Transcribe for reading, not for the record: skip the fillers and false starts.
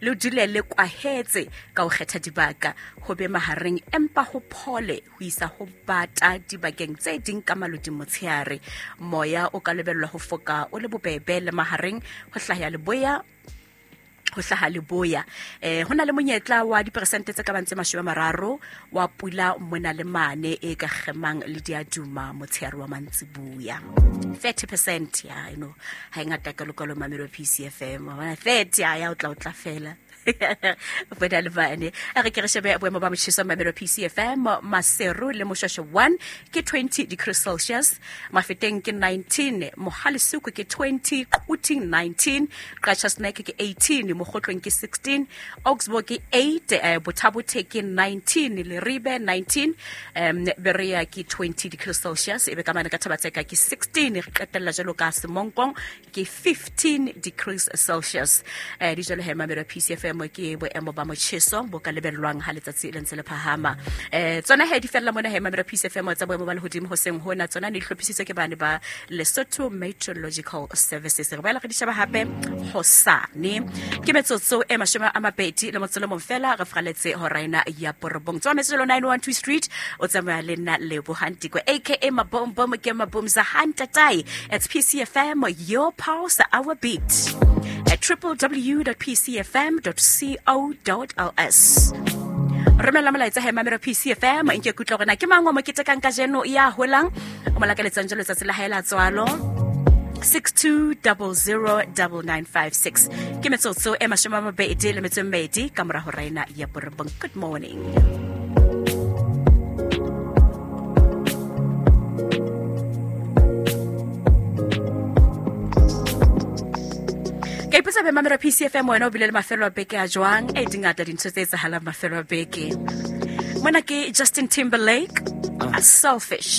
Le dule le kwahetse ka ho kgetha dibaka ho be mahareng empa ho phole ho isa ho bata dibakeng tse ding ka malodi motshehare. Moya o ka lebellwa ho foka o le bobebe le mahareng ho hlaha leboya ho hlaha leboya. Ho na le monyetla wa diperesente tse ka bang tse 30 wa pula mona le mane e ka kgemang le diaduma motshehare wa mantsibuya. 30% ya you know ha e ngata ka lokalo mamelo PCFM wa bona 30 ya ya o tla o tla fela bona le bane. A re ke re shebe boemo ba motjheso mamelo PCFM. Maseru le Moshweshwe 1 ke 20 degrees Celsius, Mafeteng ke 19, Mohalesuku ke 20, Quthing 19, Qacha's Nek ke 18, Mokgotlong ke 16, Augsburg ke 8, Bothabothe ke 19, Leribe 19, Berea ke 20 degrees Celsius, ebe ka mane ka Thabatseka ke 16, re qetella jwalo ka Semonkong ke 15 degrees Celsius. Di jwalo he mamelo PCFM ke boemo ba motjheso bo ka lebellwang ha letsatsi le ntse le phahama. Tsona he di fella mona he mamelo PCFM tsa boemo ba lehodimo hoseng hona, tsona ne di hlophisitswe ke bane ba Lesotho Meteorological Services. Re boela re di sheba hape hosane. Ke metsotso e 21 fela re fraletse hora ena ya borobong. Tswa metsotso 912 Street o tsamaya le nna Lebohang Tiko aka Mabombom ke Mabomza Hantatai. It's PCFM, your pulse, our beat. At www.pcfm.co.ls. Romela molaetsa he mamelo PCFM nke kutlwa gore na ke mang wa mo ketekang kajeno ya holang o mo lakaletsang jalo letsatsi la hae la tswalo. 62009956 ke metsotso e 22 ka mora hora ena ya borobong. Good morning. Ka ipotsa be mamelo PCFM wena o bile le mafelo a beke a jwang? E dingata dintho tse etsahalang mafelo a beke. Mona ke Justin Timberlake, a Selfish.